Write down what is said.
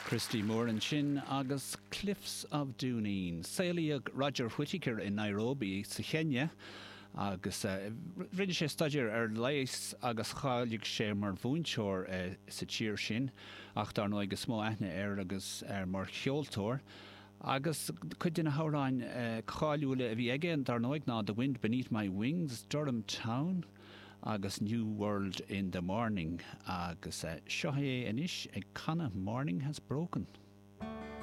Christy Moore ansin agus Cliffs of Dooneen. Saolaíodh Roger Whittaker i Nairobi sa Chéinia agus rinne sé staidéar ar leigheas agus cháiligh sé mar mhúinteoir sa tír sin ach dar ndóigh is mó aithne air agus mar cheoltóir agus cuid de na hamhráin cáiliúla a bhí aige dar ndóigh ná The Wind Beneath My Wings, Durham Town agus New World in the Morning agus seo é anois ag canadh Morning Has Broken.